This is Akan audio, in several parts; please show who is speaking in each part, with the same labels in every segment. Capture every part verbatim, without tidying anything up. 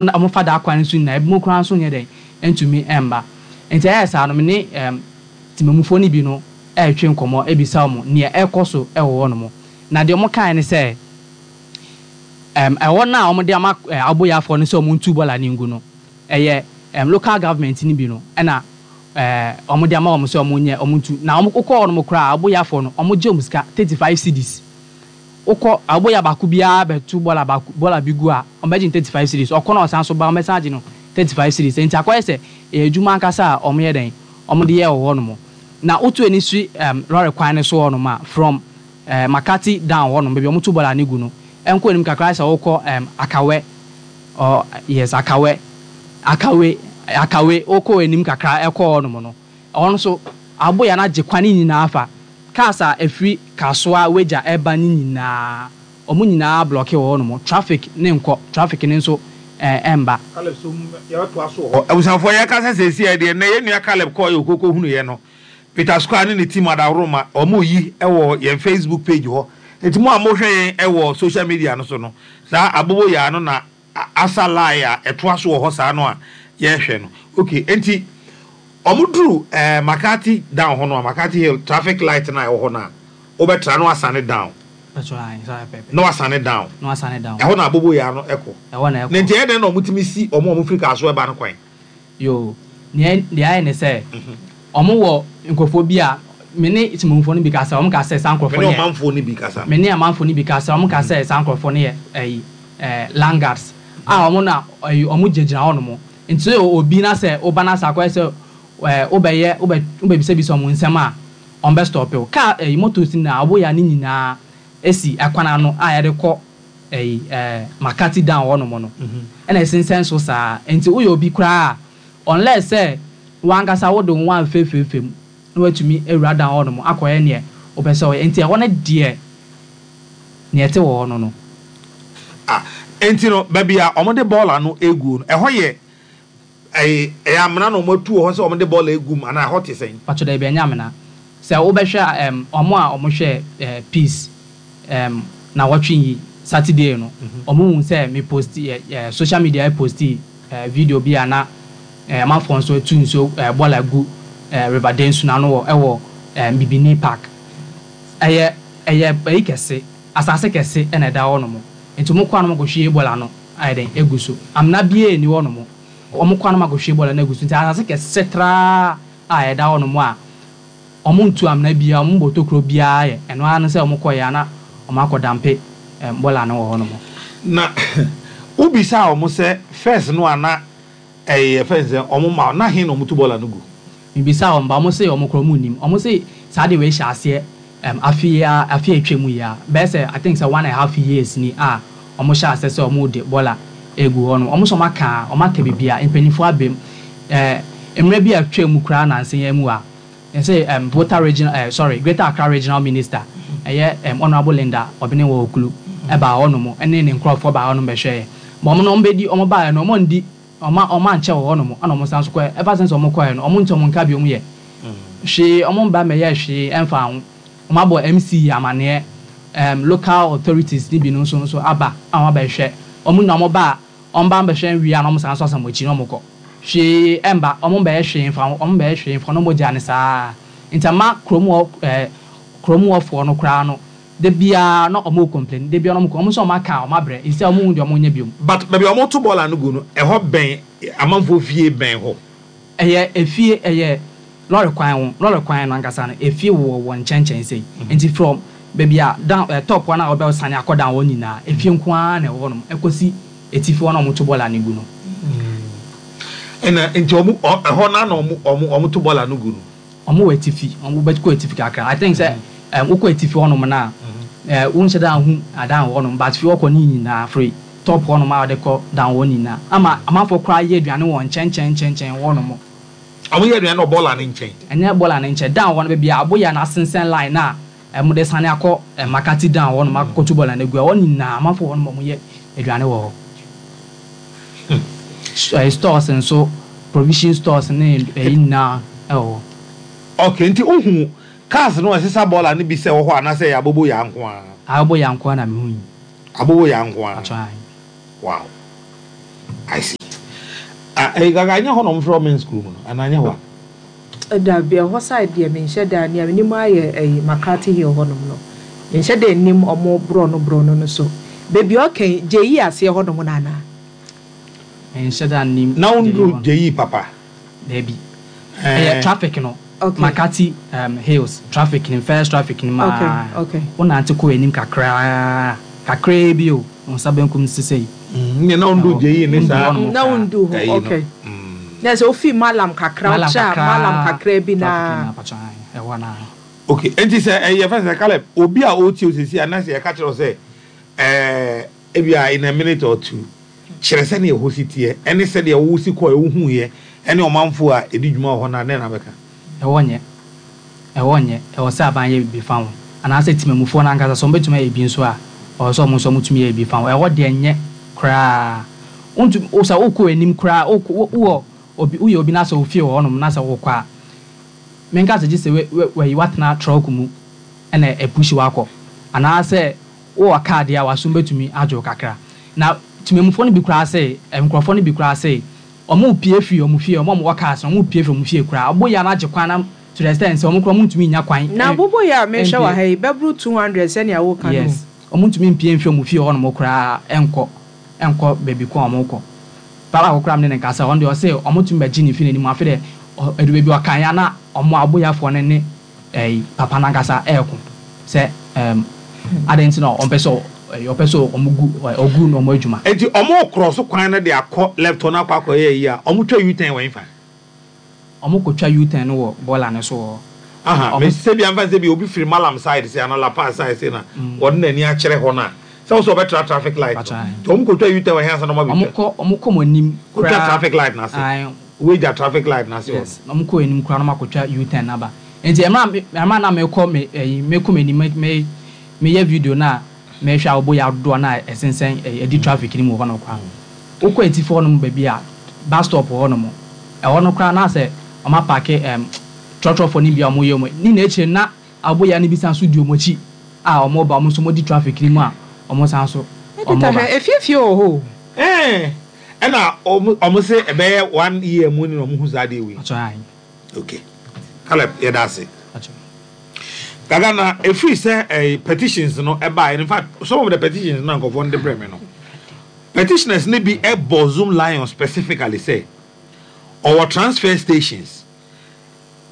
Speaker 1: Na wɔfa daa kwan no so nyinaa, ebinom koraa nso nyɛ dɛn ntumi mba. Nti ɛyɛ saa no, me ne ɛɛm temamufoɔ no bi no ɛretwe nkɔmmɔ ebisa wɔn nea ɛrekɔ so ɛwɔ hɔnom. Na deɛ wɔn kae ne sɛ ɛɛm ɛhɔ no a wɔde ama ɛɛ aboyafoɔ no sɛ wɔn ntu bɔɔla no ngu no, ɛyɛ ɛɛm local government no bi no ɛna ɛɛ wɔde ama wɔn sɛ wɔn nyɛ, wɔn ntu. Na wɔn wokɔ hɔnom koraa, aboyafoɔ no, wɔn gye wɔn sika thirty five cedis. Wokɔ aboya baako biara bɛto bɔɔla baako, bɔɔla bi gu a, wɔn bɛgye no thirty five cedis. Ɔkɔ na ɔsan so ba, wɔn bɛsan agye no thirty five cedis. Nti akɔyɛ sɛ ɛyɛ adwuma ankasa a wɔn yɛ dɛn, wɔn de yɛ wɔ hɔnom. Na wotu ani si ɛɛm lɔre kwan no so hɔnom a, from ɛɛ Makati down hɔnom, baabi a wɔn to bɔɔla no gu no, ɛnkɔ anim kakra sɛ wokɔ ɛɛm Akawɛ ɔ, yes, Akawɛ, Akawe, Akawe, wokɔ anim kakra ɛkɔ hɔnom no, ɛhɔ nso aboya no agye kwan no nyinaa fa. Cars a ɛfiri Kasoa Wagya ɛba no nyinaa, wɔn nyinaa block wɔ hɔnom. Traffic ne nkɔ, traffic ne nso ɛɛ ɛmba.
Speaker 2: Caleb, so yɛbɛtoa so wɔ hɔ. Abusuafoɔ, yɛka sɛ sɛsi ɛ deɛ nnɛ yɛn nua Caleb kɔɔ yɛ okoko hunuiɛ no, Peter Square ne ne team adaworoma ɔmo yi ɛwɔ yɛn Facebook page hɔ. Nti mo a mohwɛ yɛn ɛwɔ social media no so no, saa aboboyaa no na asa line a ɛtoa so wɔ hɔ saa no a yɛrehwɛ no. Okay, nti ɔmo duru ɛɛ Makati down hɔ no a, Makati Hill traffic light na ɛwɔ hɔ no a, wobɛtra no asane down na wasane down.
Speaker 1: Na wasane down.
Speaker 2: Ɛhɔ na aboboyaa no ɛkɔ.
Speaker 1: Ɛhɔ na ɛkɔ.
Speaker 2: Ne nti ɛyɛ dɛn na ɔmo tumi si ɔmo a ɔmo firi Kasoa ɛba no kwan?
Speaker 1: Yo, nea deɛ ayɛ ne sɛ ɔmo wɔ nkurɔfoɔ bi a me ne temamufoɔ no bi kasa, ɔmo ka sɛ saa nkurɔfoɔ
Speaker 2: me
Speaker 1: no
Speaker 2: ne
Speaker 1: yɛ
Speaker 2: ɔmanfoɔ no bi kasa.
Speaker 1: Me ne amanfoɔ no bi kasa, ɔmo ka sɛ saa nkurɔfoɔ no yɛ ɛyi ɛɛ landguards a ɔmo na ɛyi, ɔmo gyinagyina hɔnom. Nti sɛ obi na sɛ ɔba na sɛ akɔyɛ sɛ ɛɛ wobɛyɛ wobɛ wobɛbisabisa ɔmo nsɛm a, ɔmo bɛ stop wo kaa. Ɛyi, motos na aboya ne nyinaa esi ɛkwan ano a yɛde kɔ ɛyi ɛɛ Makati down hɔnom no, ɛna ɛsensɛn so saa. Nti woyɛ obi koraa, unless sɛ wankasa wode wo ho amfeefeefe mu na watumi awura down hɔnom akɔyɛ neɛ wopɛ sɛ ɔyɛ. Nti ɛhɔ no deɛ, neɛ ɛte wɔ hɔ no no
Speaker 2: Ah, nti no baabi a ɔmo de bɔɔla no egu no, ɛhɔ yɛ ɛyɛ ɛyɛ amena na ɔmo atu wɔ hɔ sɛ ɔmo de bɔɔla egu mu anaa ɛhɔ te sɛn?
Speaker 1: Patro, dɛ ebi ɛnyɛ amena. Sɛ wobɛhwɛ a, ɛm ɔmo a ɔmo hwɛ ɛɛ Peace ɛm na wɔtwe yi Saturday no, ɔmo hu sɛ me post ɛ ɛ social media post ɛ video bi a na ɛ amanfoɔ nso atu nsuo ɛ bɔɔla gu ɛ River Densu n'ano wɔ ɛwɔ ɛ Bibini Park. ɛyɛ ɛyɛ ɛyi kɛse, asase kɛse ɛna ɛda hɔ nom. Nti ɔmo kɔ anam akɔhwie bɔɔla no ayɛ dɛn egu so. Amena bie ni hɔ nom. Ɔmo kɔ anam akɔhwie bɔɔla no egu so. Nti asase kɛse traa a ɛda hɔ nom a ɔmo ntu amena biara, ɔmo bɔ tokuro biara, yɛ ɛno ara no sɛ ɔmo kɔ yɛ ana ɔmo akɔ dump ɛm bɔɔla no wɔ hɔ nom.
Speaker 2: Na wobisa ɔmo sɛ first no ana ɛyɛ fɛn sɛ ɔmo ma na hen na ɔmo tu bɔɔla no gu?
Speaker 1: Mbisa wɔn ba, ɔmo se ɔmo korɔ ɔmo nim. Ɔmo se saa de wei hyɛ aseɛ ɛm afe a afe a etwa mu yi a, bɛyɛ sɛ, I think sɛ one and a half years ni a ɔmo hyɛ aseɛ sɛ ɔmo de bɔɔla egu hɔ no. Ɔmo sɛ ɔmo aka ɔmo aka biribi a mpanyinfoɔ abɛm ɛɛ mmerɛ bi a atwa mu koraa nansa yɛn mu a yɛsɛ ɛm Volta Regional, ɛɛ sorry, Greater Accra Regional Minister, ɛyɛ ɛm Honourable Linda Obenewaa Ocloo, ɛbaa hɔnom ɛne ne nkurɔfoɔ baa hɔnom bɛhwɛ yɛ ma ɔmo no. Ɔmo bɛdi, ɔmo baeɛ no, ɔmo ndi, ɔmo ɔmo ankyɛ wɔ hɔnom ɛna ɔmo san so kɔɛ. Ever since ɔmo kɔɛ no, ɔmo nti ɔmo nka bi, ɔmo yɛ hwee, ɔmo mba mɛyɛ hwee ɛmfa ho. Ɔmo abɔ M C amaneɛ, ɛm local authorities ne bi no nso nso aba a ɔmo abɛhwɛ. Ɔmo nyinaa ɔmo ba a, ɔmo ba mbɛhwɛ nwie a, na ɔmo san so asan wɔn akyi na ɔmo kɔ. Hwee ɛmba, ɔmo mbɛyɛ hwee mfa ho, ɔmo mbɛyɛ hwee mfa ho na ɔmo gya ne saa. Nti ama kurom hɔ ɛɛ kurom hɔfoɔ no koraa no, de biara na ɔmo complain, de biara na ɔmo ɔmo nso ɔmo aka, ɔmo abrɛ nsi a ɔmo hu deɛ ɔmo nyɛ biom.
Speaker 2: But baabi a ɔmo to bɔɔla no gu no, ɛhɔ bɛn amanfoɔ fie, bɛn hɔ?
Speaker 1: Ɛyɛ efie, ɛyɛ lɔre kwan ho. Lɔre kwan no ankasa no, efie wɔ wɔ nkyɛnkyɛn sei. Nti from baabi a down ɛ top hɔ na ɔbɛ sane akɔ down hɔ nyinaa, efie nko ara na ɛwɔ hɔnom ɛkɔsi etifi hɔ na ɔmo to bɔɔla no gu no.
Speaker 2: Ɛna nti ɔmo ɔ ɛhɔ na na ɔmo ɔmo ɔmo to bɔɔla no gu no?
Speaker 1: Ɔmo wɔ etifi. Ɔmo bɛ kɔ etifi kakra. I think sɛ ɛm wokɔ etifi hɔnom na ɛɛ wonhyɛ da hu adan wɔ hɔnom, but fi hɔ kɔ ne nyinaa, firi top hɔnom a wɔde kɔ down hɔ nyinaa, ama amanfoɔ koraa yɛ aduane wɔ nkyɛnkyɛn nkyɛnkyɛn hɔnom.
Speaker 2: Ɔmo yɛ aduane wɔ bɔɔla no nkyɛn?
Speaker 1: Ɛnyɛ bɔɔla no nkyɛn, down hɔ no, baabi a aboyɛ no asensɛn line na ɛmo de sane akɔ ɛ Makati down hɔnom akɔto bɔɔla no agu hɔ nyinaa, amanfoɔ hɔnom ɔmo yɛ aduane wɔ hɔ. Ɛɛ stores nso, provision stores ne ɛyi nyinaa ɛwɔ hɔ.
Speaker 2: Okay, nti wohu cars no a ɛsesa bɔɔla no bi sɛ wɔ hɔ anaasɛ ɛyɛ aboboyaa nko ara?
Speaker 1: Aboboyaa nko ara na mehu yi.
Speaker 2: Aboboyaa nko ara?
Speaker 1: Atwa.
Speaker 2: Wow. I see. Ah, ɛyi Gaga, nyɛ hɔ na ɔmo frɛ ɔmo school mu no anaa nyɛ hɔ a?
Speaker 3: Dabi, ɛhɔ side deɛ, menhyɛ da. Nea menim ayɛ ɛyi, McCarthy Hill hɔnom no, menhyɛ da nim ɔmo borɔno borɔno no so beebi. Ɔkɛn gye yi aseɛ hɔnom no anaa?
Speaker 1: Menhyɛ da nim.
Speaker 2: Na wonduru gye yi papa?
Speaker 1: Dabi, ɛyɛ traffic no.
Speaker 3: Okay.
Speaker 1: McCarthy um, Hills traffic ni, first traffic ni maa
Speaker 3: Okay, okay.
Speaker 1: wonante kɔ anim kakraa kakraa bi o, wo nsa benkum sisei.
Speaker 2: Nyɛ na wonduru gye yi ne saa.
Speaker 1: Wonduru hɔnom.
Speaker 3: Na wondu hɔ.
Speaker 2: Ɛyi no.
Speaker 3: Okay.
Speaker 2: Mm.
Speaker 3: Na sɛ ofi Malam kakra,
Speaker 1: Malam
Speaker 3: wokyɛ a
Speaker 1: kakraa,
Speaker 3: Malam kakra bi
Speaker 1: traffic
Speaker 3: na
Speaker 1: na apatwa ɛhɔ na.
Speaker 2: Okay, nti sɛ ɛyɛ fɛn sɛ Caleb, obi a ɔretie o sisi a, na sɛ yɛka kyerɛ wo sɛ ɛɛ ebi a in a minute or two, kyerɛ sɛdeɛ ɛhɔ si teɛ ɛne sɛdeɛ wo si kɔ ɛwo yɛ ɛne ɔmanfoɔ a ɛdi dwuma wɔ hɔ no a, dɛn na bɛka?
Speaker 1: Ɛwɔ nyɛ, ɛwɔ nyɛ. Ɛwɔ sɛ aban yɛ biribi fa ho, anaasɛ temamufoɔ no ankasa sɛ ɔmbɛtumi ayɛ bi nso a, ɔwɔ sɛ ɔmo nso ɔmotumi yɛ bi fa ho. Ɛhɔ deɛ, nyɛ koraa. Wontumi wo sɛ wokɔ anim koraa, wokɔ wowɔ obi, woyɛ obi na sɛ ofie wɔ hɔnom na sɛ wokɔ a, menka sɛ gye sɛ wɛ- wɛ- wɔyi watena truck mu ɛna ɛpush wakɔ, anaasɛ wowɔ kaa deɛ a, wasom bɛtumi agye wo kakra. Na temamufoɔ no bi koraa sɛ nkurɔfoɔ no bi koraa sɛ ɔmo pie firi ɔmo fie, ɔmo a ɔmo wɔ cars no, ɔmo pie firi ɔmo fie koraa, ɔmo yɛ anagye kwan na to the extent sɛ ɔmo koraa ɔmo ntumi nya kwan.
Speaker 3: Na
Speaker 1: ɛ-
Speaker 3: bobo yɛ a mehwɛ wɔ
Speaker 1: ɛmpie.
Speaker 3: Ha yi bɛboro two hundred sɛnea woka no.
Speaker 1: Yes, ɔmo ntumi mpie mfiri ɔmo fie hɔnom koraa ɛnkɔ ɛnkɔ baabi ko a ɔmo kɔ. Papa akɔkora mi ne ne nkasa, ɔno deɛ ɔsɛ ɔmo tumi bɛgye ne fi n'anim. Afei dɛ ɔ ɛdu baabi ɔkan ya na ɔmo aboyafoɔ no ne ɛyi papa nankasa ɛɛko sɛ ɛɛm adan nti na ɔmpɛ sɛ ɔ- ɛyi ɔpɛ sɛ ɔmo gu ɛ, ɔgu na ɔmo adwuma.
Speaker 2: Nti ɔmo korɔ so kwan no de akɔ left hɔ no akɔ akɔyɛ yi a, ɔmo twa U-turn wɔ nfa?
Speaker 1: Ɔmo kɔtwa U-turn no wɔ bɔɔla no so wɔ hɔ.
Speaker 2: Aha.
Speaker 1: Ɔmo
Speaker 2: mɛ sɛ bi anfa sɛ bi obi firi Malam side sɛ ana Lapaz side sɛ na wɔde n'ani akyerɛ hɔ no a, sɛ wɔsɛ ɔbɛtra traffic light no,
Speaker 1: Patwa.
Speaker 2: nti ɔmo kɔtwa U-turn wɔ hɛn ansa na ɔmo
Speaker 1: Ɔmo
Speaker 2: abɛtwa?
Speaker 1: kɔ ɔmo kɔ mo anim
Speaker 2: kɔtwa
Speaker 1: koraa.
Speaker 2: Traffic light n'ase.
Speaker 1: Ae.
Speaker 2: Wagya traffic light n'ase hɔ.
Speaker 1: Yes, na ɔmo kɔ anim koraa na ɔmo akɔtwa U-turn naba. Nti ɛmira mi ɛmira na mekɔ me ɛyi mekɔ m'anim, me me meyɛ video na mehwɛ a, ɔbɔ yɛ adodoɔ na ɛsensɛn ɛyi ɛdi traffic ni mu wɔ hɔ no koraa. Wokɔ etifi hɔ nom baabi a bus stop wɔ hɔ nom, ɛhɔ no koraa na sɛ ɔmo apark ɛm trɔtrɔfoɔ no bi a ɔmo yɛ ɔmo ne na akyire na aboya no bi san so di ɔmo akyi a ɔmo ba, ɔmo nso ɔmo di traffic ni mu a ɔmo san so ɔmo
Speaker 3: ɛdita
Speaker 1: ba.
Speaker 3: Hwɛ, efiefie wɔ hɔ o.
Speaker 2: Ɛɛ, ɛna ɔmo ɔmo sɛ ɛbɛyɛ one year mu ni na ɔmo hu saa adeɛ wei?
Speaker 1: Ɔtɔ ayi.
Speaker 2: Okay, Caleb, yɛda ase.
Speaker 1: Ɔtɔ.
Speaker 2: Gaga, na efiri sɛ ɛɛ petitions no ɛbaa, in fact some of the petitions na nkɔfoɔ no de brɛ mi no, petitioners ne bi ɛbɔ Zoomlion specifically sɛ ɔwɔ transfer stations,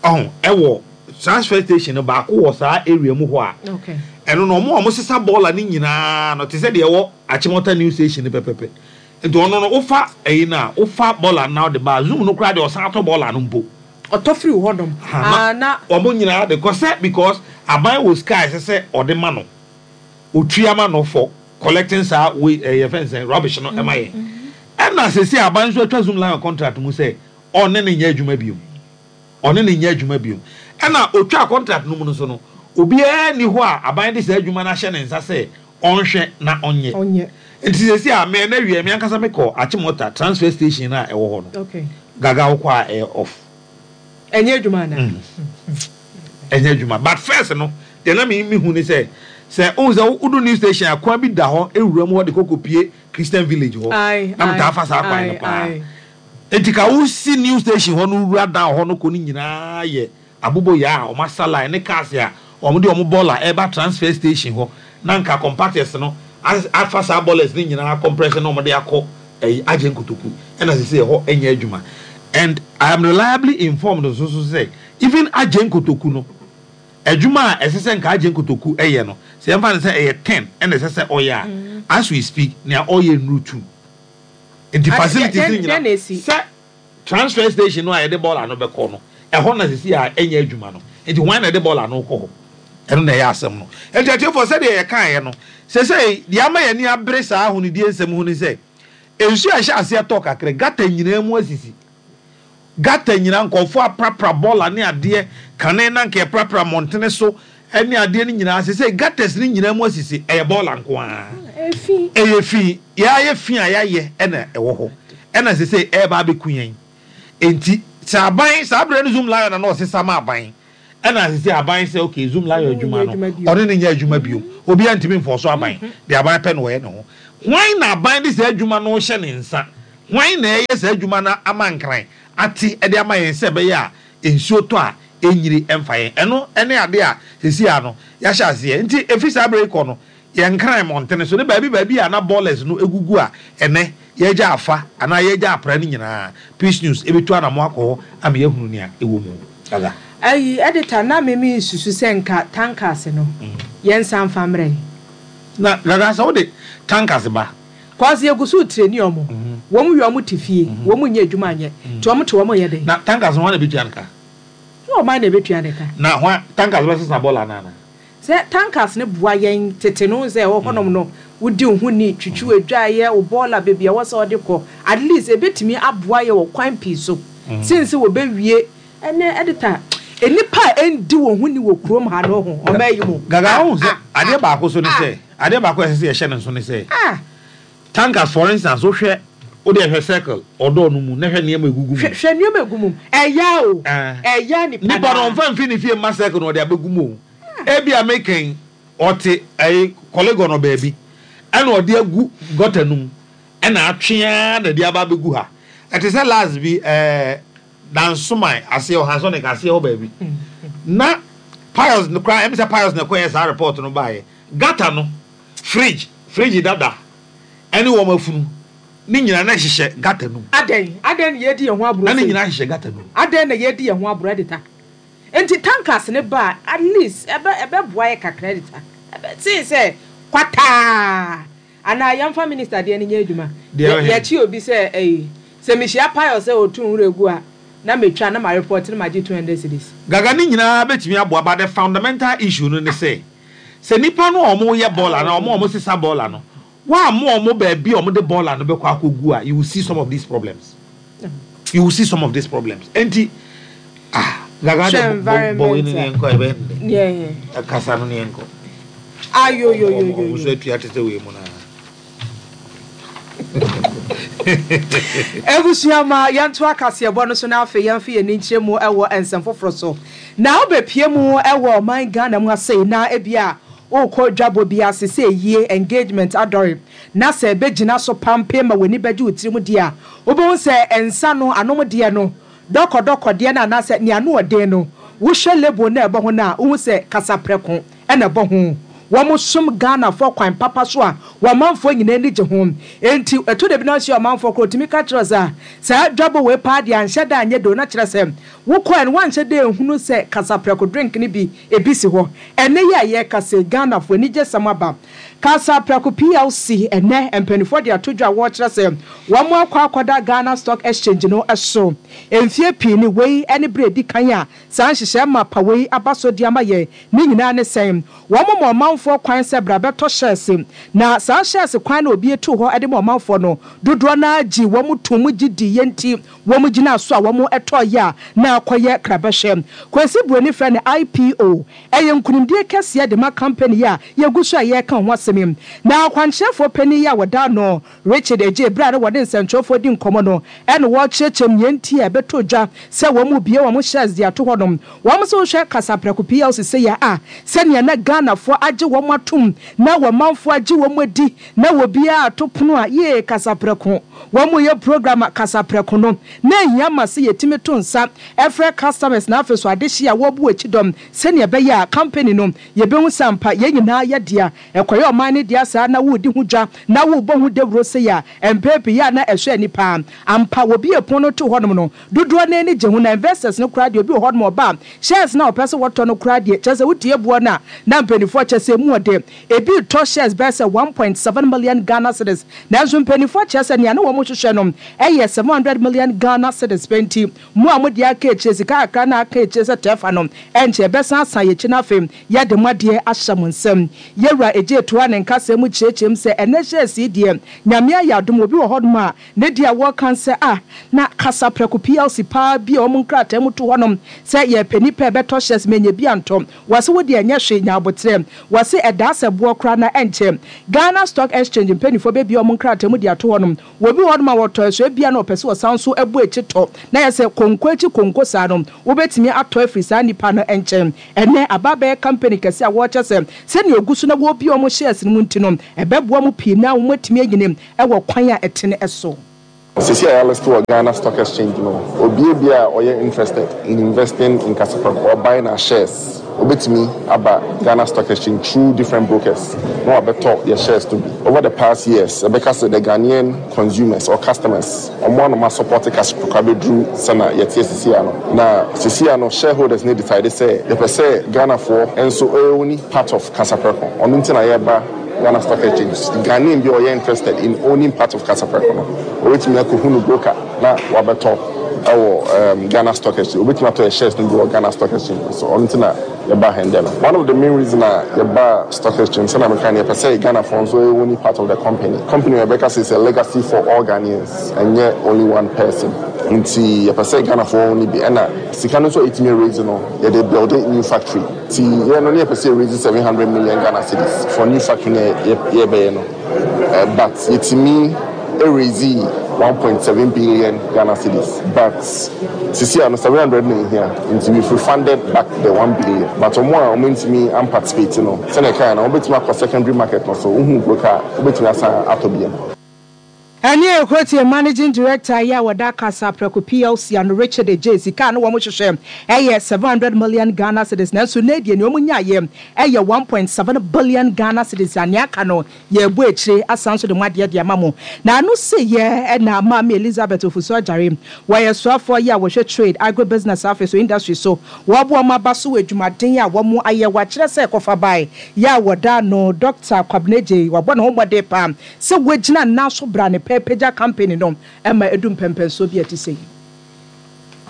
Speaker 2: ɔho ɛwɔ transfer station no baako wɔ saa area mu hɔ a
Speaker 3: okay
Speaker 2: ɛno no, ɔmo a ɔmo sesa bɔɔla ne nyinaa no te sɛ deɛ ɛwɔ Achimota new station no pɛpɛpɛ. Nti ɔno no, wofa ɛyi no a, wofa bɔɔla no na ɔde ba Zoom no koraa deɛ, ɔsan atɔ bɔɔla no mpo.
Speaker 3: Ɔtɔ firi hɔnom?
Speaker 2: Ha, na
Speaker 3: ah, na
Speaker 2: ɔmo nyinaa de kɔ sɛ because aban wɔ sika a ɛsɛ sɛ ɔde ma no, otua ma no for collecting saa wei ɛyɛ fɛn sɛ rubbish no ɛma yɛn. Ɛna sese aban nso atwa Zoomlion contract mu sɛ ɔne ne nyɛ adwuma biom, ɔne ne nyɛ adwuma biom. Ɛna otwa contract no mu no so no, obiara ni hɔ a aban de saa adwuma no ahyɛ ne nsa sɛ ɔnhwɛ na ɔnyɛ.
Speaker 3: Ɔnyɛ.
Speaker 2: Nti sese a mɛ na wie, mi ankasa mi kɔ Achimota transfer station a ɛwɔ hɔ no,
Speaker 3: okay
Speaker 2: Gaga, wokɔ a, ɛyɛ off.
Speaker 3: Ɛnyɛ adwuma ana?
Speaker 2: Ɛnyɛ adwuma. But first no deɛ, na mi mi hu ni sɛ sɛ ohun sɛ wodu new station a, kwan bi da hɔ ewura mu hɔ de kɔkɔ pie Christian Village hɔ.
Speaker 3: Aye,
Speaker 2: na mi taa
Speaker 3: aye,
Speaker 2: fa saa kwan no
Speaker 3: aye,
Speaker 2: paa.
Speaker 3: aye.
Speaker 2: Nti ka wosi new station hɔ no wura down hɔ no kɔ no nyinaa yɛ aboboyaa a ɔmo asa line ne cars a ɔmo de ɔmo bɔɔla ɛba transfer station hɔ, na nka compactors no as- afa saa bɔɔlas ne nyinaa compressor na ɔmo de akɔ ɛyi agye nkotoku. Ɛna sisi ɛhɔ ɛnyɛ adwuma. And I am reliably informed nso so sɛ even agye nkotoku no, adwuma a ɛsɛ sɛ nka agye nkotoku ɛyɛ no, sɛ yɛmfa no sɛ ɛyɛ ten ɛna ɛsɛ sɛ ɔyɛ a, as we speak nea ɔyɛ nnuru two. Nti
Speaker 3: Ade-
Speaker 2: facilities
Speaker 3: dɛn-
Speaker 2: no
Speaker 3: dɛn na
Speaker 2: nyinaa
Speaker 3: esi?
Speaker 2: Sɛ transfer station no a yɛde bɔɔla no bɛkɔ no, ɛhɔ na sisi a ɛnyɛ adwuma no. Nti wɔn na yɛde bɔɔla no kɔ hɔ, ɛno na ɛyɛ asɛm no. Nti atiefo, sɛdeɛ yɛkaeɛ no, sɛsɛ deɛ ama yɛn ani abere saa ahonidie nsɛm ho ne sɛ nsuo a ɛhyɛ aseɛ tɔ kakra, gutter nyinaa mu asisi, gutter nyinaa nkɔfoɔ aprapra bɔɔla ne adeɛ kane na nka yɛprapra mmɔntene so ɛne adeɛ no nyinaa. Sɛsɛ gutters ne nyinaa mu asisi, ɛyɛ bɔɔla nko ara.
Speaker 3: Efi.
Speaker 2: Ɛyɛ fi, yɛayɛ fi a yɛayɛ ɛna ɛwɔ hɔ, ɛna sɛsɛ ɛɛba abɛku yɛn. Nti sɛ aban saa abirɛ no Zoomlion na na ɔsesa ma aban, ɛna sɛsɛ aban sɛ okay, Zoomlion adwuma no
Speaker 3: adwuma bio.
Speaker 2: Ɔne ne nyɛ adwuma bio, obiara ntumi nfɔ so. Aban deɛ aban pɛ na ɔyɛ ne ho. Hwan na aban de saa adwuma no hyɛ ne nsa Hwan na ɛyɛ saa adwuma no ama Nkran ate ɛde ama yɛn sɛ ɛbɛyɛ a nsuo tɔ a ɛnyiri ɛmfa yɛn? Ɛno ɛne ade a sisi a no yɛahyɛ aseɛ. Nti efi saa abere yi kɔ no, yɛn Nkran mmɔntene so ne baabi baabi a na bɔɔlɛs no egugu a ɛnɛ yɛgya afa anaa yɛgya apra no nyinaa, Peace News ebitu anamo akɔ hɔ ama yɛahunu nea ɛwɔ mu gaga.
Speaker 3: Ayi, editor, na mimi susu sɛ nka tankers no, yɛnsa mfa mmerɛ yi.
Speaker 2: Na gaga, sɛ wode tankers ba,
Speaker 3: kɔsi yɛgu so train ɔmo, wɔn wie, ɔmo te fie, wɔn nyɛ adwuma anyɛ, nti ɔmo te, wɔn yɛ dɛ.
Speaker 2: Na tankers no, hwan na ebetua no ka?
Speaker 3: Na ɔman na ebetua ne ka.
Speaker 2: Na hwan tankers bɛsesa bɔɔla anaa?
Speaker 3: Sɛ tankers ne boa yɛn tete no sɛ ɛwɔ hɔnom no, wodi wo ho ni twitwi adwaeɛ wo bɔɔla baabi a ɛwɔ sɛ ɔde kɔ, at least ebetumi aboa yɛ wɔ kwan pii so since wɔbɛwie. Ɛnɛ, editor, nipa a ɛndi wɔn ho ni wɔ kurom ha no ho ɔmɛ yi mu.
Speaker 2: Gaga, ɔhun sɛ adeɛ baako so ne sɛ, adeɛ baako a ɛsɛ sɛ yɛhyɛ ne nso ne sɛ
Speaker 3: ah
Speaker 2: tankers, for instance, wohwɛ, wode ɛhwɛ circle ɔdɔɔ no mu na hwɛ nneɛma egugu mu.
Speaker 3: Hwɛ, hwɛ nneɛma egu mu, ɛya o.
Speaker 2: Ah.
Speaker 3: Ɛya nipa.
Speaker 2: Nipa no ɔnfa nfi ne fie mma circle na ɔde abɛgu mu o. Ebi a mekɛn ɔte ɛyi Korle Gonno baabi ɛna ɔde agu gutter no mu ɛna atwea na ɛde aba abɛgu ha. Ɛte sɛ last bi, ɛɛ Dansoman aseɛ ɔhansɔne aseɛ hɔ baabi na Pius no koraa ɛmi sɛ Pius na ɛkɔyɛ saa report no baayɛ, gutter no, fridge fridge dada ɛne wɔn afunu ne nyinaa na ɛhyehyɛ gutter no mu.
Speaker 3: Adɛn, adɛn na yɛdi yɛn ho aburo
Speaker 2: Na ne
Speaker 3: sei?
Speaker 2: nyinaa hyehyɛ gutter no mu.
Speaker 3: Adɛn na yɛdi yɛn ho aburo, editor? Nti tankers ne ba a, at least ɛbɛ ɛbɛboa yɛ kakra, editor, ɛbɛ sen sɛ kwataa anaa yɛmfa minister deɛ no nyɛ adwuma.
Speaker 2: Deɛ
Speaker 3: Yɛ-
Speaker 2: ɔhe?
Speaker 3: Yɛkyi obi sɛ ɛyi sɛ mehyia Pius sɛ ɔtu nwura egu a, na metwa na ma report na ma gye two hundred cedis.
Speaker 2: Gaga, ne nyinaa bɛtumi aboa, but the fundamental issue no ne sɛ sɛ nipa no a wɔn yɛ bɔɔla na wɔn a wɔn sesa bɔɔla no, wɔn a mo wɔn baabi a wɔn de bɔɔla no bɛkɔ akɔgu a, you will see some of these problems, you will see some of these problems. Nti ah, Gaga de
Speaker 3: Hwɛ.
Speaker 2: bɔ bɔ wei ni
Speaker 3: Environment
Speaker 2: ne nkɔ ɛbɛn de
Speaker 3: yeah
Speaker 2: ɛkasa no ne nkɔ.
Speaker 3: Ayoyoyoyo.
Speaker 2: Ɔmo nso atua te sɛ wei mu naa.
Speaker 3: Ebusua, ma yɛnto akaseɛbɔ no so na afei yɛmfa yɛn ani nkyerɛ mu ɛwɔ nsɛm foforɔ so. Na wobɛpie mu ɛwɔ ɔman Ghana mu ase na ebi a wokɔ dwabɔ bi ase sɛ yie engagement adɔre na sɛ ɛbɛgyina so pampe ma w'ani bɛgye wo tirim deɛ a, wobɛhu sɛ nsa no anom deɛ no dɔkɔdɔkɔ deɛ no anaasɛ nea ano ɔden no, wohwɛ label na ɛbɔ ho no a, wohu sɛ Kasaprɛko ɛna ɛbɔ ho. Wɔn som Ghanafoɔ kwan papa so a wɔn amanfoɔ nyinaa ani gye ho. Enti ɛto de bi na ahyia ɔmanfoɔ koro tumi ka kyerɛ sɛ saa dwabɔ wei paa deɛ anhyɛ da anyɛ do, na kyerɛ sɛ wokɔɛ no wanhyɛ da ehunu sɛ Kasaprɛko drink no bi ebi si hɔ. Ɛnɛ yi a yɛreka sɛ Ghanafoɔ ani gye sɛm aba, Kasaprɛko P L C ɛnɛ mpanimfoɔ de ato dwa a wɔrekyerɛ sɛ wɔn akɔ akɔda Ghana Stock Exchange no so. Mfie pii ni wei ne bere edi kan a saa nhyehyɛ ma pa wei aba so de ama yɛn. Ne nyinaa ne sɛn? Wɔn ma ɔmanfoɔ kwan sɛ bra bɛtɔ shares, na saa shares kwan na obi etu hɔ de ma ɔmanfoɔ no, dodoɔ naa gye wɔn tum gye di yɛn ti wɔn gyina so a wɔn tɔ yɛ a na akɔyɛ krabɛhwɛ. Kwesi Buroni fɛ no I P O. Ɛyɛ nkunimdie kɛseɛ de ma company a yɛgu so a yɛreka ho asɛm yi. Na akwankyerɛfoɔ panin yi a wɔda no Richard Egye, bere a na wɔde nsɛntwerɛfoɔ di nkɔmmɔ no, ɛna wɔrekyerɛkyerɛ mu nea nti a ɛbɛtɔ dwa sɛ wɔn mu bie wɔn shares de ato hɔnom. Wɔn nso hwɛ Kasaprɛko P L C sɛ yɛ a sɛnea na Ghanafoɔ agye wɔn atom na wɔn manfoɔ agye wɔn adi na obiara ato pono a yee Kasaprɛko, wɔn mu yɛ program a Kasaprɛko no na ehia ma sɛ yɛtumi to nsa ɛfrɛ customers na afei so adehye a wɔbu akyi dɔm sɛnea ɛbɛyɛ a company no yɛbɛhu sampa yɛn nyinaa yɛ dea, ɛkɔyɛ ɔman no dea saa na wɔredi ho dwa na wɔrebɔ ho dawuro sɛ yɛ a mpɛn pii yɛ a na ɛhwɛ nipa ampa. Wɔbi epono no to hɔnom no, dodoɔ no ani gye ho na investors no koraa deɛ, obi wɔ hɔnom ɔba shares na ɔpɛ sɛ wɔtɔ no koraa deɛ, kyerɛ sɛ wotie boɔ no a na mpanimfoɔ kyerɛ sɛ emu ɔde ebi tɔ shares bɛyɛ sɛ one point seven million Ghana cedis, nanso mpanimfoɔ kyerɛ sɛ nea ne wɔn hwehwɛ no ɛyɛ seven hundred million Ghana cedis pɛ. Nti mu a mo deɛ aka akyire, sika kakra na aka akyire sɛ tɛɛfa no ɛnkyɛ ɛbɛsan asan yɛ akyi no, afei yɛde mo adeɛ ahyɛ mo nsam. Yɛwura Egye toa ne nkasa mu kyerɛkyerɛ mu sɛ ɛnɛ shares yi deɛ, Nyame ayɛ adom, obi wɔ hɔnom a ne deɛ a wɔka sɛ a na Kasaprɛko P L C paa bi a wɔn nkrataa mu to hɔnom sɛ yɛpɛ nipa ɛbɛtɔ shares mɛnyɛ bi antɔ. Wɔse wo deɛ ɛnyɛ hwee, nya abotrɛ. Wɔse ɛdaa sɛ boɔ koraa na ɛnkyɛ Ghana Stock Exchange mpanimfoɔ bɛbia wɔn nkrataa mu de ato hɔnom. Wɔbi wɔ hɔnom a wɔtɔ ɛso ebia na ɔpɛ sɛ ɔsan so ɛbɔ akyi tɔ na yɛ sɛ konko akyi konko saa no, wobɛtumi atɔ afiri saa nipa no nkyɛn. Ɛnɛ aba bɛyɛ company kɛse a wɔrekyɛ sɛ sɛnea ogu so na wɔrebi wɔn shares no mu nti no, ɛbɛboa mu pii na wɔn atumi anyini ɛwɔ kwan a ɛtene ɛso.
Speaker 4: Seesei a yɛalist wɔ Ghana Stock Exchange no, obiara bi a ɔyɛ interested in investing in Kasapreko or buying our shares, obetumi aba Ghana Stock Exchange through different brokers na wabɛtɔ yɛ shares no bi. Over the past years, ɛbɛka sɛ the Ghanaian consumers or customers, ɔmo anoma support Kasapreko abɛduru sɛna yɛte seesei ano. Na seesei ano shareholders ne decide sɛ yɛpɛ sɛ Ghanafoɔ nso own part of Kasapreko. Ɔno nti na yɛba Ghana Stock Exchange. Ghanaian bi a ɔyɛ interested in owning part of Kasapreko no, obetumi akɔhu no broker na wabɛtɔ ɛwɔ um, Ghana Stock Exchange. Obetumi atɔ yɛ shares no bi wɔ Ghana Stock Exchange. So ɔno nti na yɛba hɛn no. One of the main reason a yɛba stock exchange sɛnea meka no, yɛpɛ sɛ Ghanafoɔ nso own part of the company. Company yɛbɛka sɛ is a legacy for all Ghanaians, ɛnyɛ only one person. Nti yɛpɛ sɛ Ghanafoɔ own bi, ɛna sika no nso a yɛtumi raise no, yɛde build a new factory. Nti yɛn no ne yɛpɛ sɛ raise seven hundred million Ghana cedis for new factory no yɛbɛyɛ no, uh, but yɛtumi raise one point seven billion Ghana cedis, but seesei ano seven hundred na ehia, nti we've refunded back the one billion. But ɔmo a ɔmo ntumi amparticipate no, sɛnɛ kan na wɔbɛtumi akɔ secondary market no so, wohu broker a wobɛtumi asan atɔ bi.
Speaker 3: Ɛne ɛkɔtie managing director yi a wɔda Kasapreko P L C ano, Richard Adjei. Sika no wɔn hyehyɛ ɛyɛ seven hundred million Ghana cedis, nanso ne deɛ nea wɔn nyaayɛ ɛyɛ one point seven billion Ghana cedis, a nea aka no yɛbɔ akyire asan so de mu adeɛ de ama mo. Na ano se yɛ ɛna Maame Elizabeth Ofosu Adjare, wɔyɛ soafoɔ yi a wɔhwɛ trade, agribusiness, afei so industry so, wɔaboa wɔn aba so wɔ adwumaden a wɔn ayɛ. Wɔakyerɛ sɛ kɔfa bae yɛ a wɔda no Doctor Kwabena Adjei, wɔabɔ ne ho mmɔden paa sɛ wɔgyina nnan so bra ne pɛ pagya company no ɛma edu mpɛmpɛnsoɔ bi a ɛte sɛ yi.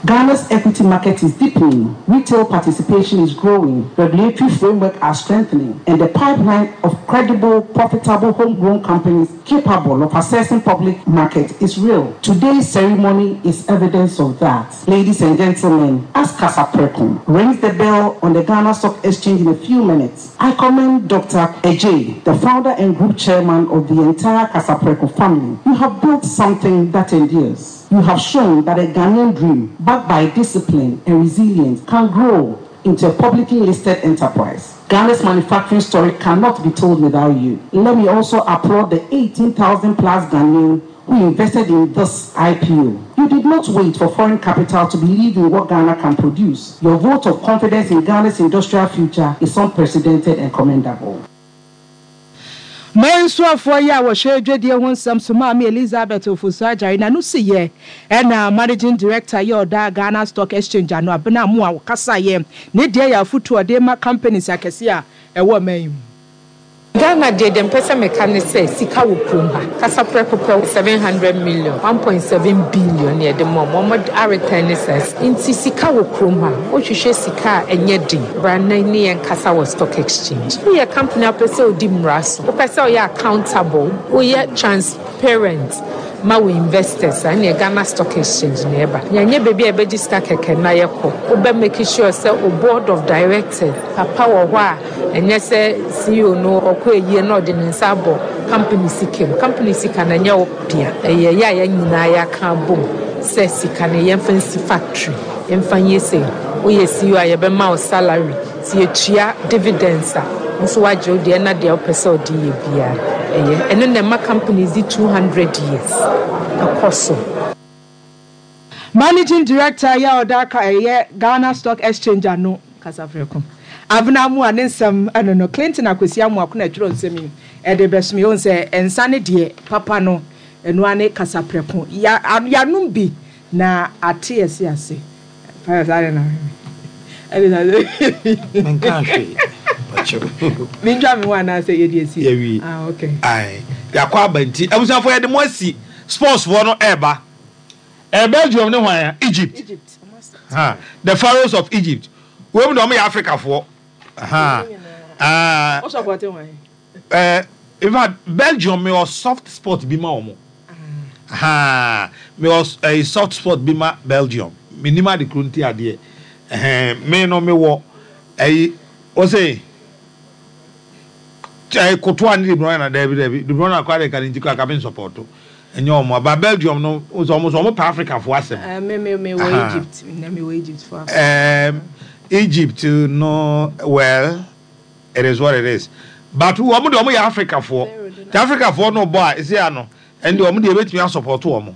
Speaker 5: Ghana's equity market is deepening, retail participation is growing, regulatory framework are strengthening, and the pipeline of credible, profitable homegrown companies capable of accessing public market is real. Today's ceremony is evidence of that. Ladies and gentlemen, as Kasapreko rings the bell on the Ghana Stock Exchange in a few minutes, I commend Doctor Adjei, the founder and group chairman of the entire Kasapreko family. You have built something that endures. You have shown that a Ghanaian dream, backed by discipline and resilience, can grow into a publicly listed enterprise. Ghana's manufacturing story cannot be told without you. Let me also applaud the eighteen thousand plus Ghanaians who invested in this I P O. You did not wait for foreign capital to believe in what Ghana can produce. Your vote of confidence in Ghana's industrial future is unprecedented and commendable.
Speaker 3: Mmansuafoɔ yi a wɔhwɛ adwadie ho nsɛm so, Maame Elizabeth Ofosu Adjare, na no si yɛ ɛna managing director yɛ ɔda Ghana Stock Exchange ano, Abena mu a wɔkasa yɛ ne deɛ yɛ afotu ɔde ma companies akɛse a ɛwɔ ɔman yi mu.
Speaker 6: Ghana deɛ deɛ mpɛ sɛ meka ne sɛ sika wɔ kurom ha. Kasapreko pɛ seven hundred million, one point seven billion ne yɛde ma ɔmo, ɔmo areturn ne sɛ nti sika wɔ kurom ha. Wohwehwɛ sika a ɛnyɛ den, bra na ne yɛn kasa wɔ stock exchange. Woyɛ company a wopɛ sɛ wodi mmara so, wopɛ sɛ woyɛ accountable, woyɛ transparent ma wo investors a, ɛne Ghana Stock Exchange na ɛba. Yɛnyɛ baabi a yɛbɛgye sika kɛkɛ na yɛkɔ. Wobɛ make sure sɛ o board of directors papa wɔ hɔ a, ɛnyɛ sɛ C E O no ɔkɔ eyie na ɔde ne nsa abɔ company sika mu. Company sika na ɛnyɛ wo dea, ɛyɛ yɛ a yɛn nyinaa yɛaka abom sɛ sika no yɛmfa nsi factory, yɛmfa nyɛ sɛ woyɛ C E O a yɛbɛma wo salary, nti yɛtua dividends a nso wagye wo deɛ, na deɛ wopɛ sɛ ɔde yɛ biara ɛyɛ. Ɛno na ɛma companies di two hundred years ɛkɔ so.
Speaker 3: Managing director yɛ ɔda ka ɛyɛ Ghana Stock Exchange ano, Kasapreko, Abena mu a ne nsɛm ɛno no, Clinton Akwasi Amoako na ɛtwerɛ nsɛm yi ɛde bɛsom yɛn sɛ nsa ne deɛ papa no, ɛno ne Kasapreko ya yanom bi na ate yɛse ase fayɛ saa de na ɛde na
Speaker 2: Menka hwee.
Speaker 3: Mentwa me ho anaasɛ yɛde asi?
Speaker 2: Yɛwie.
Speaker 3: Ah, okay.
Speaker 2: Aye. Yɛakɔ aba nti abusuafoɔ, yɛde mo asi sportsfoɔ no ɛɛba ɛɛ Belgium ne hwan a? Egypt.
Speaker 3: Egypt.
Speaker 2: Ha, the Pharaohs of Egypt wɔn mu na wɔn yɛ Africafoɔ ha. Ah,
Speaker 3: wo support hwan?
Speaker 2: ɛɛ in fact, Belgium, mi wɔ soft spot bi ma wɔn ha. Mi wɔ ɛɛ soft spot bi ma Belgium. Mi nim ade kuro nti adeɛ ɛhɛn mi no mi wɔ ɛyi wɔsɛ ɛɛ Kotoa ne De Bruyne na dɛbi dɛbi, De Bruyne akɔ ade ka ne nti kɔ aka mi nsupport ɛnyɛ wɔn aba. Belgium no wɔsɛ wɔn sɛ wɔn pɛ Africafoɔ asɛm.
Speaker 3: Uh, me me me wɔ
Speaker 2: Aha.
Speaker 3: Egypt na me wɔ Egypt for Africa.
Speaker 2: Um, Egypt no, well, it is what it is. But wɔn de wɔn yɛ Africafoɔ. Te Africafoɔ no bɔ a esi ano, ɛnde wɔn de ebetumi asupport wɔn.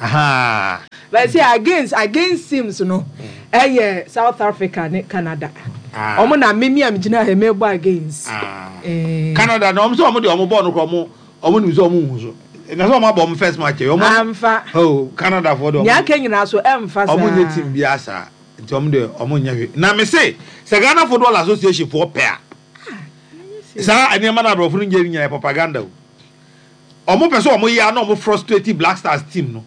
Speaker 2: Ahaa.
Speaker 3: But see against against teams no ɛyɛ South Africa ne Canada. Ɔmo na mimi a megyina ha mebɔ against.
Speaker 2: Ah. Canada na ɔmo sɛ ɔmo de ɔmo bɔɔl no kɔ ɔmo ɔmo nim sɛ ɔmo nhu so. Na sɛ ɔmo abɔ ɔmo first match ɔmo.
Speaker 3: Amfa.
Speaker 2: Oh, Canada fo de ɔmo.
Speaker 3: Nea aka nyinaa so ɛmfa saa.
Speaker 2: Ɔmo nye team bi asa. Nti ɔmo de ɔmo nyɛ hwee. Na me se sɛ Ghana Football Association fo pɛ a. Saa nneɛma na aborɔfo no nyɛ nyinaa propaganda o. Ɔmo pɛ sɛ ɔmo yɛ na ɔmo frustrate Black Stars team no.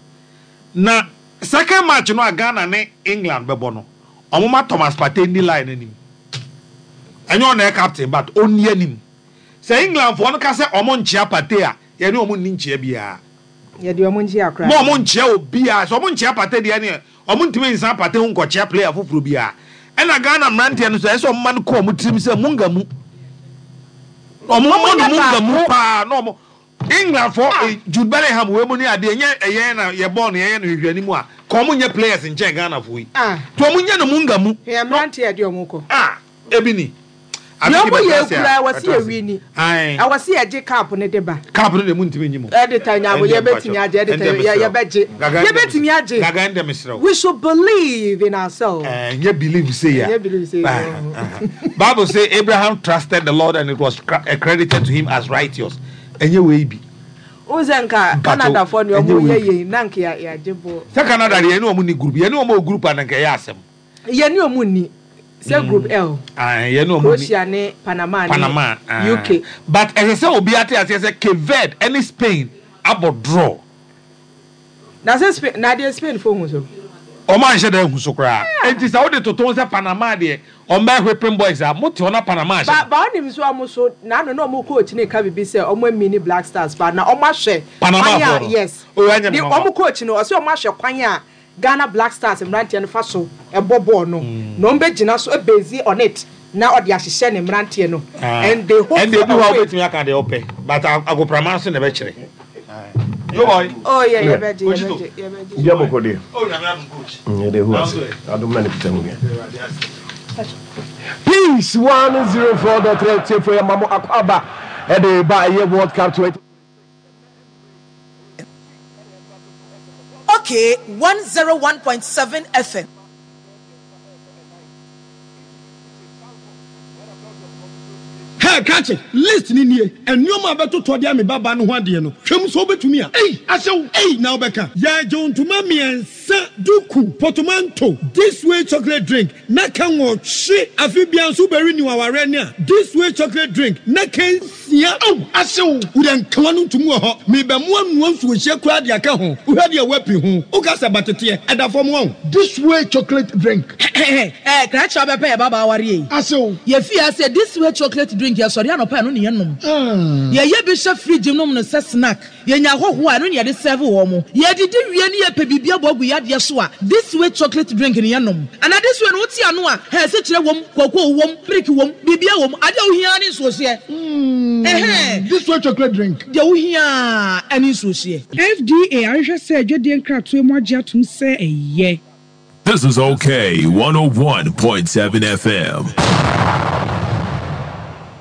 Speaker 2: Na second match no a Ghana ne England bɛbɔ no, ɔmo ma Thomas Partey ni line anim. Ɛnyɛ ɔna yɛ captain but ɔnni anim. Sɛ England foɔ no ka sɛ ɔmo nkyea Partey a, yɛne ɔmo nni nkyea biara.
Speaker 3: Yɛde ɔmo nkyea koraa.
Speaker 2: Ma ɔmo nkyea obiara. Sɛ ɔmo nkyea Partey deɛ ne ɔmo ntumi nsan Partey ho nkɔkyea player foforɔ biara. Ɛna Ghana mmeranteɛ no so ɛsɛ ɔmo ma no kɔ ɔmo tirim sɛ munga mu. Ɔmo mmɔ no munga mu paa na ɔmo England for ah. Jude Bellingham we mu ni ade enye eye na ye ball na ye no hwehwɛ animu a ka omo nye players nchen Ghana fo yi to omo nye no munga mu
Speaker 3: ye mrante ye de omo ko
Speaker 2: ah ebi ni
Speaker 3: ye omo ye kura wɔ se ye wini e wɔ se ye gye cup ne de ba
Speaker 2: cup no de mu ntimi nyi mu
Speaker 3: e de ta nya bo ye betimi agye e de ta ye ye begye ye betimi agye
Speaker 2: gaga ndem srew.
Speaker 3: We should believe in ourselves.
Speaker 2: Eh nye believe say ya
Speaker 3: nye believe say
Speaker 2: Bible say Abraham trusted the Lord and it was credited to him as righteous. Enye we bi.
Speaker 3: Uzenka Canada for no omo ye ye na nka ya ya jebo.
Speaker 2: Se Canada ye ne omo ni group, ye ne omo group an nka ya asem.
Speaker 3: Ye ne omo ni. Se group L.
Speaker 2: Ah, ye ne omo ni.
Speaker 3: Croatia ne Panama ne
Speaker 2: Panama, ah.
Speaker 3: U K.
Speaker 2: But as I say obi ate ase se Cape Verde any Spain abo draw.
Speaker 3: Na se Spain na de Spain fo hu so.
Speaker 2: Omo anhye da hu so kra. Enti sa wo de toton se Panama de omo whipping boys a mote ona Panama.
Speaker 3: Ba ba onim so omo so na no na omo coach ne ka bibi se omo mini Black Stars ba na omo ahwe
Speaker 2: Panama fo.
Speaker 3: Yes.
Speaker 2: O anya me.
Speaker 3: Omo coach no o se omo ahwe kwan a Ghana Black Stars mrantie no fa so e bobo no. Na omo begina so e base on it na odi ahyehyɛ ne mrantie no. And they hope
Speaker 2: and they do how betimi aka de ope but agoprama so na be kire. Yo boy.
Speaker 3: Oh yeah, yeah, yeah, yeah, yeah.
Speaker 7: Yeah, boko de.
Speaker 2: Oh, na me coach.
Speaker 7: Yeah, de who ase. Adom na ne pita mu. Peace one zero four dot three for your mamo akwaba. E de ba ye World Cup twenty.
Speaker 8: Okay, one zero one point seven F M.
Speaker 9: Hey, catch it. List ni nie. And no ma beto to dia me baba no ho ade no. Hwem so obetumi a. Ei, ahyew. Ei, na obeka. Ya jontuma miensa duku potomanto. This way chocolate drink. Na kan wo hwe afi bia nso beri ni waware ne a. This way chocolate drink. Na kan sia. Au, ahyew. Wo den kawa no ntumu ho. Me be mo anu nso hye kura de aka ho. Wo hwe de wapi ho. Wo ka sabatete. Eda fom won.
Speaker 10: This way chocolate drink.
Speaker 8: Eh, kra cha be pe baba aware yi.
Speaker 10: Ahyew.
Speaker 8: Ye fi ase this way chocolate drink. Ya sorry anopa no ne yenom. Ye ye bi hye fridge nom no se snack. Ye nya hoho a no ne ye de serve wo mo. Ye didi wie ne ye pe bibia bogu ya de so a. This way chocolate drink ne yenom. Ana this way no ti ano a, he se kire wom, kokoo wom, milk wom, bibia wom. Ade wo hia ne nso hye. Eh.
Speaker 10: This way chocolate drink.
Speaker 8: De wo hia ene nso hye.
Speaker 11: F D A ahwehwɛ sɛ adwadie nkratoe mu agye atom sɛ ɛyɛ.
Speaker 12: This is Okay one oh one point seven F M.